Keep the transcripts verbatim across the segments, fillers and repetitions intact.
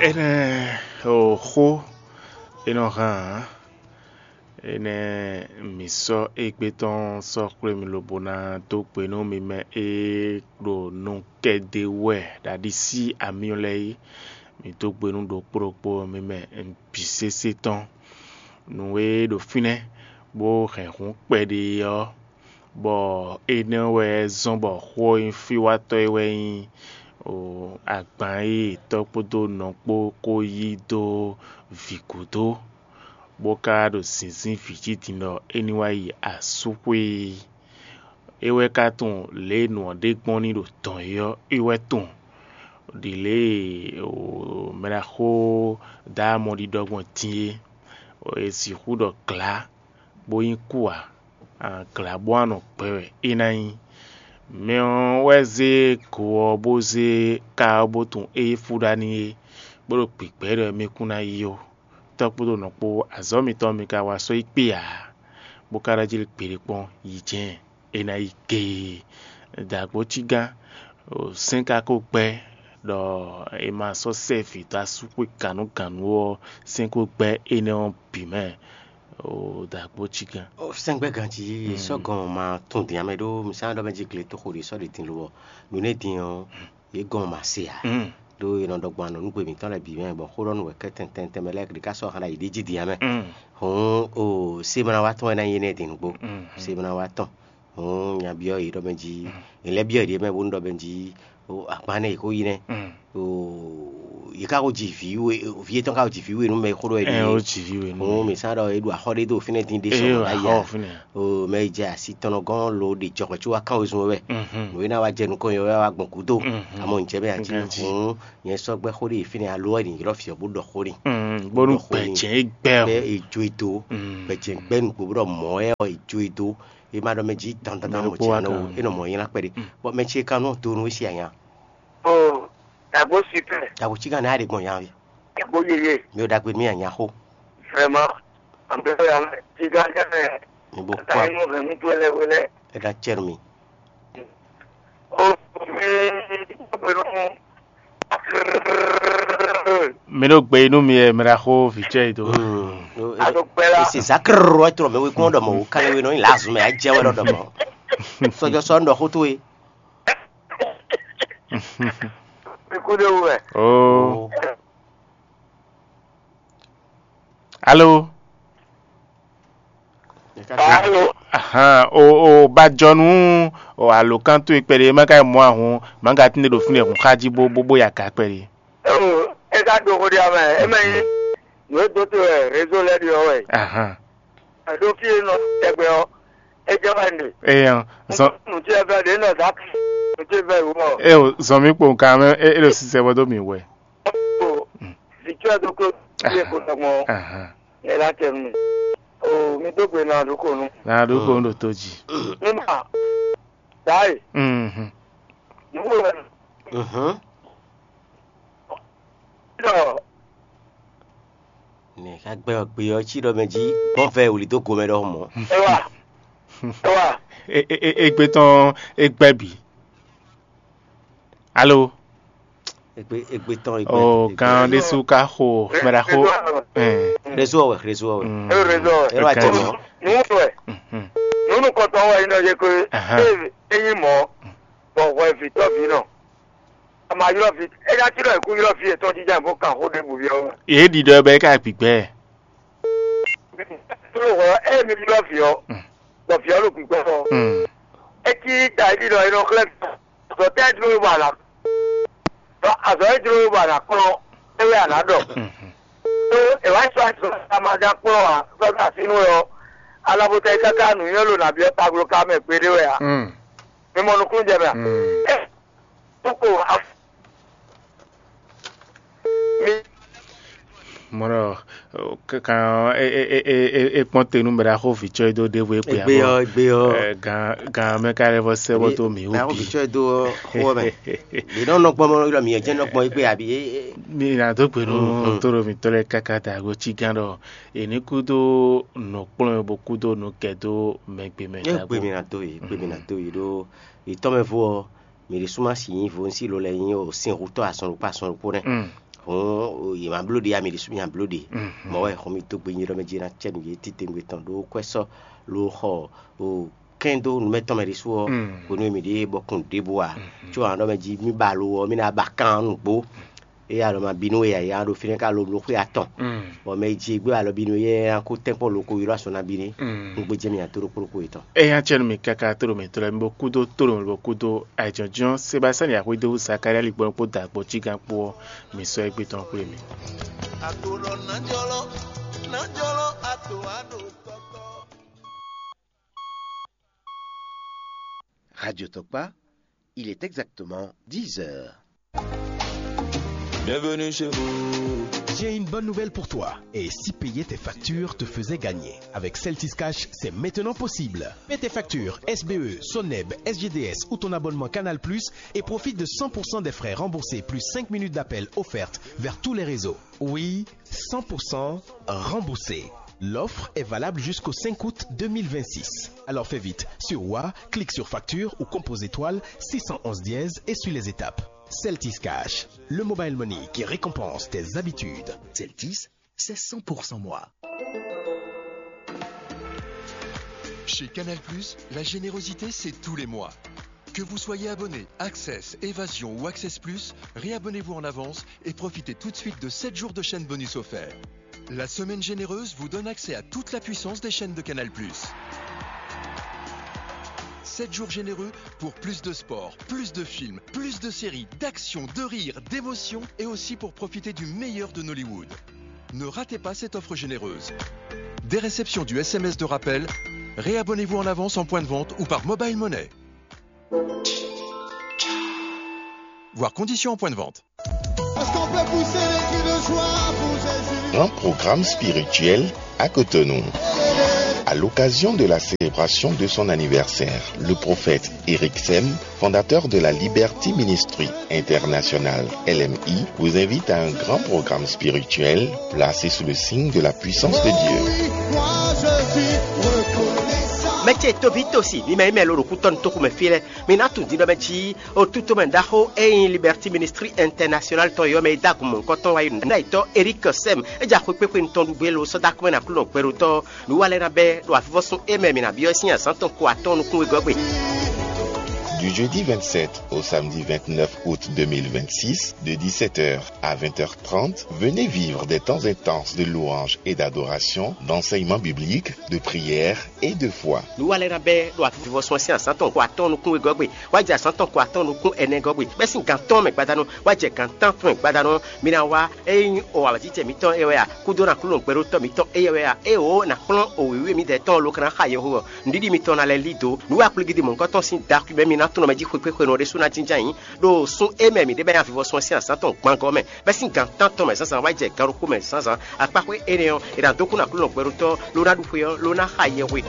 Énɛ́ o xó e nɔ hán ǎ. Énɛ́ mǐ sɔ́ égbé tɔn sɔ́ xwlé mì lobo ná dó gbe nú mi mɛ e ɖo nukɛn ɖe wɛ ɖo aɖisí amyɔ lɛ́ɛ é. Mǐ dó gbe nú ɖokpó ɖokpó mi mɛ bǐ sésé tɔn. Nǔ e ɖo fínɛ́ bó hɛn hǔn kpɛɖé ɔ́, bɔ énɛ́ wɛ zɔ́n bɔ xó ɔ́ nyí fíwátɔ́ e wɛ nyí agban e tɔ́ kpódó nɔ kpó ko yí dó vǐ gúdo, bó ka ɖo zǐnzín vǐ jí din ɖɔ é ní wá yi asúxwé é. É wɛ ka tunwun lě e nǔ ɔ́ ɖe gbɔn ní ɖo dɔ̌n é ɔ́, é wɛ tunwun. Ɖi lě e mɛɖaxó Daamɔɖi ɖɔ gbɔn din é, è sixú ɖɔ glǎ bó nyí kú ǎ, glǎ bó wá nɔ gbɛ wɛ é ná nyí. Mɛ ɔ́ wɛ zé go ɔ́ bó zé ka ɔ́ bó tunwun ée fú ɖa n'i é, bó ɖo gbǐgbɛ́ ɖɔ émí kún ná yi ó. Tɔ́ kpódó nɔ kpó, azɔ̌ mitɔn mi ka wa sɔ́ yi kpé ǎ, bó ka ɖɔ jí gbeɖé kpɔ́n yi jɛ́n é ná yi géé. Dǎgbó cígán, sɛ́n ka ko gbɛ́ ɖɔ è ma sɔ́ sɛ́ vǐ dó asúxwé gǎnugǎnu ɔ́, sɛ́n ko gbɛ́ énɛ́ ɔ́ bǐ mɛ. Dǎgbó cígán. Sɛ́ngbɛ́ ganjí sɔ́ gɔn ma tún din ǎ mɛ ɖó mi sá ɖɔ mɛ jí gletoxo ɖě sɔ́ ɖě din lo ɔ́, nǔ énɛ́ din ɔ́, yě gɔn ma se ǎ. Ɖó è nɔ ɖɔ gbɔn anɔ̌nugbe mǐtɔn lɛ́ɛ bǐ mɛ gbɔn xó ɖɔ nú wɛ kɛ́tɛn tɛntɛn mɛ lɛ́ɛ ɖě ká sɔ́ hǎn ɖo ayǐ ɖé jí din ǎ mɛ. Hǔn o semana wa tɔn wɛ ná nyí énɛ́ din nǔgbó. Semana wa tɔn. Hǔn nya byɔ́ yě ɖɔ mɛ jí è lɛ́ byɔ́ yě ɖě mɛ bónú ɖɔ mɛ jí o agban nɛ è ko yi nɛ́. O yě ká ko ji vǐ we vǐ yětɔn ká ko ji vǐ we nú mɛ e xó ɖɔ é Ɛ ɖíe. Ó jǐ ví we nú Hǔn mi. Mǐ sá ɖɔ é ɖu axɔ ɖé dó fínɛ́ dín ɖé sɔ Eye mɔ wà ná yi xɔ a? Fínɛ́. O mɛ e jɛ asi tɔn nɔ gɔ́n lo ɖe jɔhwɛ̌ có wá kán wezun wɛ. Mhm. Nǔ e ná wá jɛ nukɔn yɔ wɛ wá gbɔn gúdo. Mhm. Amɔ ǹjẹ́ mɛ ati Nǹkan jí. Hǔn nyɛ sɔ́ gbɛ́ xó ɖé fínɛ́ alo wɛ ɖi ylɔ́ fiɔ bó ɖɔ xó n'i. Mhm. Bónú Ɖɔ xó n'i. Gbɛ̌jɛ́n é gbɛ Bɛ o. Èjo e dó. Mhm. Gbɛ̌jɛ́n gbɛ́ nǔgbó bó ɖɔ mɔ̌ wɛ ɔ èjo e dó. E ma ɖɔ mɛ jí dandandan Mɛ mɔ ɖokpó jɛ wá anɔ o kan. E nɔ mɔ nyi ná kpɛɖé. Mhm. Bɔ mɛ ce kan nɔ do nú e si anya. O dàgbò super. Dàgbò tí kan ní a ɖe gbɔn yan wi. Dàgbò yeye. Mi ò dàgbé mi anya xó. Vraiment. Àbẹ̀rẹ̀ àwọn tí kan jẹ́ Mi bó kó a. Àtàwọn ọmọ rẹ̀ mú tó ẹlẹ́wẹ̀lẹ́. E ka cɛ mi. O mi pẹ̀lú. Mi ɖo gbe inú mi ɛ mra xó vǐ cɛ yi do. Ado kpɛ la. Esi zakr wɛ trɔ mɛ wekun ɖɔ mɔ wo kale we nɔ nyi lazu mɛ a jɛ wɛ ɖɔ ɖɔ mɔ. Sɔjɔ sɔ ŋdɔ xó to ye. Ikú de wɛ. Oh. Alo. Alo. Ahan, o o ba jɔ nú o alo kan to ikpɛɖe ma ka mɔ ahun ma ka tinde ɖo fínɛ hun xaji bó bó bó ya ka kpɛɖe. E ka do xo ɖi amɛ, e mɛ nyi nǔ e dó te wɛ réseau lɛ ɖi ɔ́ wɛ. Ahan. Ɖó fí e nɔ tɛgbɛ ɔ́, é jɛ wɛ nde. Eyan, zɔn Nǔ tí ɛ vɛ ɖě nɔ zǎ nǔ tí ɛ vɛ wú ɔ. E o zɔn mi kpo nkan mɛ e e ɖo sisɛ bɔ dó mi wɛ. O vǐ tí ɛ dó kó tí ɛ kó tɔgbɔn Ahan. Ɛ lá tɛ nú mi. O mi dó gbe nɔ àdókò nu. Na ɖo ko ɖo tó dzi. Nígbà táyì Mhm. Nǔgbò wɛ Mhm. Ɖɔ Ne ka gbɛ ɔ gbe ɔ cí ɖɔ mɛ jí gbɔn vɛ wuli dó gomɛ ɖɔhun mɔ. Ewa. Ewa. E e e egbe tɔn egbɛ bi. Alo. Egbe egbe tɔn egbe. O kan ɖésú ka xo mɛɖa xo. Ɛ. Réseau wɛ réseau wɛ. Mm. Ero réseau wɛ. Ero ajɛ mɔ. Nunu wɛ. Mhm. Nunu kɔtɔn wɛ yinɔ yɛ ko. Aha. E e yin mɔ. Bɔ hwɛ vitɔ vi nɔ. A ma ylɔ́ vi, é ná cí ɖɔ è kú ylɔ́ vǐ yětɔn jínjɔ́n bó kan xó ɖěbǔ byɔ́ wɛ. Yě ɖi ɖɔ bɔ é ka gbǐgbɛ. Tló hwɛ ɔ́, ée mi ylɔ́ vǐ ɔ́, bɔ vǐ ɔ́ ɖo gbǐgbɛ ɔ́, é cí ta é ɖi ɖɔ è nɔ xlɛ́ azɔ̌ tɛ́ jló we bɔ a nǎ ɖɔ azɔ̌ e jló we bɔ a nǎ kplɔ́n é wɛ a nǎ ɖɔ. Ɖó è wǎ sɔ́ azɔ̌ e a ma ján kplɔ́n ǎ sɔ́ dó así nú we ɔ́, alabota é káká nǔnywɛ́ lo nǎ byɔ́ taglo ka mɛ gbeɖé wɛ ǎ. Mi mɔ nukúnnú jɛ mɛ a? Ɛ, kókó a, mi. Mɔɖɔ kan e e e e e kpɔn te nu bɛ ɖa xo vitsɔ yi do ɖevo ekpe Egbe abɔ. Ɔ, egbe ɔ. Ɛ, gan gan mɛ ka lɛ vɔ sɛ bɔ to mi wo Mɛ bi. Vitsɔ yi do xo mɛ. Mi nɔ nɔ gbɔn mɔ yɔ mi yɛ jɛ nɔ gbɔn egbe abi e e. Mi na do gbe nu to ɖo mi tɔ lɛ kaka da go tsi gan ɖɔ eni kudo nɔ kplɔn bo kudo nɔ kɛ do mɛ gbe mɛ. Egbe mi na do yi, egbe mi na do yi ɖo itɔ mɛ vo ɔ. Mi ɖi súnmá si nyí vo ŋsí lo lɛ nyí o sin hutɔ azɔn ɖokpó azɔn ɖokpó nɛ. Mm. Hǔn yě ma bló ɖě, ami ɖésú mi nya bló ɖě. Mɔ̌ wɛ hɔn mi dó gbe nyi ɖɔ mɛ jí ná cɛ nǔ yě titewungbe tɔn ɖó kwɛ́ sɔ́ ló xɔ o kɛn dó nǔ mɛ tɔn mɛ ɖésú ɔ́, hwenu e mǐ ɖe bɔ kun ɖěbǔ ǎ. Có hǎn ɖɔ mɛ jí mì ba lo ɔ́, mì ná ba kan nǔgbó. Éyɛ́ alɔ ma bínú e ǎ, é ná ɖo fínɛ́ ká lo bló xwé atɔn. Bɔ mɛ e jí gbé alɔ bínú éyɛ́ ná kó tɛ́nkpɔ́n lo ko ylɔ́ asɔn ná bínú. Un gbé jɛ mì nya tó ɖokpó ɖokpó yětɔn. Éyɛ́ acɛ́nú mì káká tóɖo mǐtɔn lɛ́ɛ, mi bo kúdó tóɖo mì bo kúdó ayǐjínjɔ́n Sebastiyani Axwédó Zakalía Ligbɔn kpó Dǎgbɔ́ Jígán kpó ɔ́, mi sɔ́ égbé tɔn xwlé mì. Radio Tokpa, il est exactement dix heures. Bienvenue chez vous. J'ai une bonne nouvelle pour toi. Et si payer tes factures te faisait gagner ? Avec Celtis Cash, c'est maintenant possible. Paie tes factures S B E, Soneb, S G D S ou ton abonnement Canal Plus et profite de cent pour cent des frais remboursés plus cinq minutes d'appel offertes vers tous les réseaux. Oui, cent pour cent remboursé. L'offre est valable jusqu'au cinq août deux mille vingt-six. Alors fais vite. Sur Wa, clique sur facture ou compose étoile six cent onze dièse et suis les étapes. Celtis Cash, le mobile money qui récompense tes habitudes. Celtis, c'est cent pour cent moi. Chez Canal Plus, la générosité, c'est tous les mois. Que vous soyez abonné Access, Évasion ou Access Plus, réabonnez-vous en avance et profitez tout de suite de sept jours de chaîne bonus offerts. La semaine généreuse vous donne accès à toute la puissance des chaînes de Canal Plus. Sept jours généreux pour plus de sport, plus de films, plus de séries, d'action, de rire, d'émotion et aussi pour profiter du meilleur de Nollywood. Ne ratez pas cette offre généreuse. Dès réception du S M S de rappel, réabonnez-vous en avance en point de vente ou par Mobile Money. Voir conditions en point de vente. Est-ce qu'on peut pousser les cris de joie pour Jésus ? Un programme spirituel à Cotonou. À l'occasion de la célébration de son anniversaire, le prophète Eric Sem, fondateur de la Liberty Ministry International, L M I, vous invite à un grand programme spirituel placé sous le signe de la puissance de Dieu. Mɛ ce tóbi tosi mi mɛ yi mɛ lo ɖo kútɔ́nu tóxu mɛ fí lɛ́ɛ, mi ná tunwun din ɖɔ mɛ jí o tutomɛ ɖaxó e nyí Liberty Ministry International tɔn yɔ́ mɛ e dó agun mɔ̌hunkɔtɔn wá yi nǔɖaɖitɔ́ Eric Sem é ja xwekpéxwenu tɔn ɖu gbé lo sɔ́ dó akɔ́mɛ ná Aklúnɔ gbɛɖótɔ́. Nǔ wa lɛ́ɛ ná bɛ́ ɖo avivɔ́sún e mɛ mǐ ná byɔ́ sín azǎn tɔn ko atɔ́ɔ́n nukún wegɔ́ gbe. Du jeudi vingt-sept au samedi vingt-neuf août deux mille vingt-six, de dix-sept heures à vingt heures trente, venez vivre des temps intenses de louange et d'adoration, d'enseignement biblique, de prière et de foi. Nǔ wa lɛ́ɛ ná bɛ́ ɖo avivɔ́sún ɔ́ sín azǎn tɔn ko atɔ́ɔ́n nukún wegɔ́ gbe, wá jɛ azǎn tɔn ko atɔ́ɔ́n nukún ɛnɛ gɔ́ gbe, bɛ́ sín gan atɔ́ɔ́n mɛ gbadanu, wá jɛ gan tántɔn mɛ gbadanu. Mi ná wá, ényí o awǎjijɛ mǐtɔn é wɛ a, kúdó ná Aklúnɔ gbɛɖótɔ́ mǐtɔn éyɛ́ wɛ a, ée wǒ ná kplɔ́n o wěwé midɛɛ tɔn ɔ́ lo ka ná xa yɛhweɖɔ. Nǔɖiɖi mitɔn ná lɛ́ lí dǒ. Nǔ wa kplígídi mɔ̌hunkɔtɔn sín da xwimɛ mi ná tunɔ mɛ jí xwekpéxwenu ɔ́ ɖésú ná jínjɔ́n ayǐ. Ɖo sun e mɛ mǐ ɖe bɛ́ nyi avivɔ́sún ɔ́ sín azǎn tɔn gbangɔ́ mɛ, bɛ́ sín gan tántɔn mɛ zǎnzǎn wá jɛ gan ɖokpó mɛ zǎnzǎn. Akpáxwé énɛ́ ɔ́, è nǎ dó kú nú Aklúnɔ gbɛɖótɔ́, ló ná ɖu xwe ɔ́, ló ná xa yɛhwe.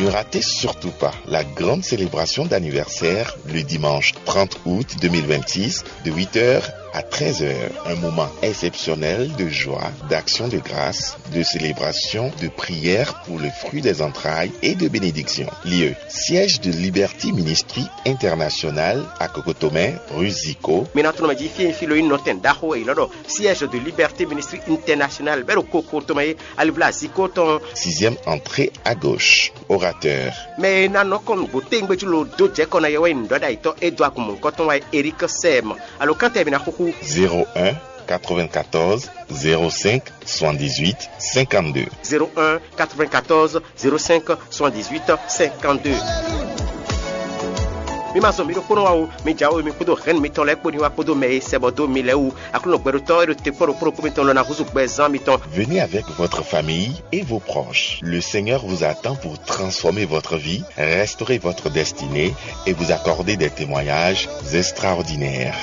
Ne ratez surtout pas la grande célébration d'anniversaire le dimanche trente août deux mille vingt-six de huit heures à treize heures. Un moment exceptionnel de joie, d'action de grâce, de célébration, de prière pour le fruit des entrailles et de bénédiction. Lieu, siège de Liberty Ministry International à Kokotomɛ, rue Zico. Mi ná tunɔ mɛ jí fí e fí lo nyí nɔtɛn ɖaxó e è nɔ ɖɔ siège de Liberté Ministry International bɛ́ ɖo Kokotomɛ é, alivla Zico tɔn. Sixième entrée à gauche. Orateur. Mɛ e ná nɔ kɔn nǔgbó téngbé jí lo dó jɛ kɔ ná yɛ wɛ nyí nǔɖɔɖ'ayǐtɔ́ e dó agun mɔ̌hunkɔtɔn wá é, Eric Sɛm. Alo kántɛ mi ná xúxú. Zéro un quatre-vingt-quatorze zéro cinq soixante-dix-huit cinquante-deux. Zéro un quatre-vingt-quatorze zéro cinq soixante-dix-huit cinquante-deux. Mi ma zɔn mi ɖokpónɔ wa o, mi jǎwe mi kpódó hɛn mitɔn lɛ́ɛ kpó ní wa kpódó mɛ e sɛ bɔ dó mi lɛ́ɛ wú. Aklúnɔ gbɛɖótɔ́ e ɖo te kpɔ́ ɖokpó ɖokpó mitɔn lɔ ná húzú gbɛ zán mitɔn. Venez avec votre famille et vos proches. Le Seigneur vous attend pour transformer votre vie, restaurer votre destinée et vous accorder des témoignages extraordinaires.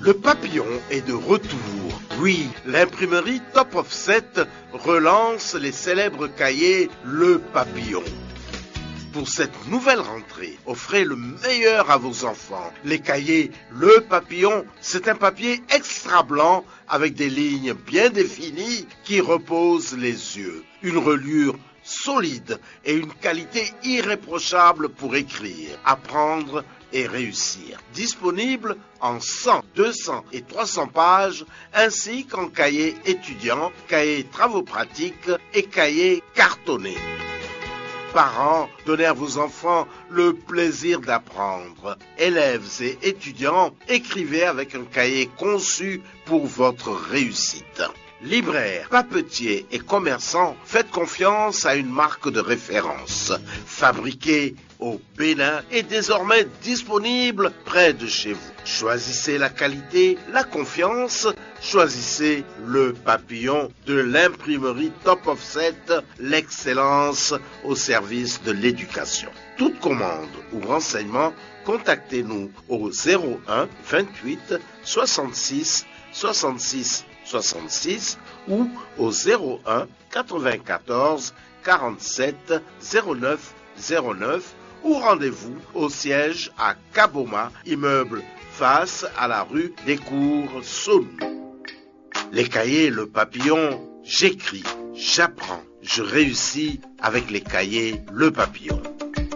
Le papillon est de retour. Oui, l'imprimerie Top Offset relance les célèbres cahiers Le Papillon. Pour cette nouvelle rentrée, offrez le meilleur à vos enfants. Les cahiers Le Papillon, c'est un papier extra blanc avec des lignes bien définies qui reposent les yeux. Une reliure solide et une qualité irréprochable pour écrire, apprendre et réussir. Disponible en cent, deux cents et trois cents pages, ainsi qu'en cahier étudiant, cahier travaux pratiques et cahier cartonné. Parents, donnez à vos enfants le plaisir d'apprendre. Élèves et étudiants, écrivez avec un cahier conçu pour votre réussite. Libraires, papetiers et commerçants, faites confiance à une marque de référence. Fabriquée au Bénin et désormais disponible près de chez vous. Choisissez la qualité, la confiance, choisissez Le Papillon de l'imprimerie Top Offset, l'excellence au service de l'éducation. Toute commande ou renseignement, contactez-nous au zéro un vingt-huit soixante-six soixante-six soixante-six ou au zéro un quatre-vingt-quatorze quarante-sept zéro neuf zéro neuf ou rendez-vous au siège à Kaboma, immeuble face à la rue des Cours Saône. Les cahiers Le Papillon, j'écris, j'apprends, je réussis avec les cahiers Le Papillon.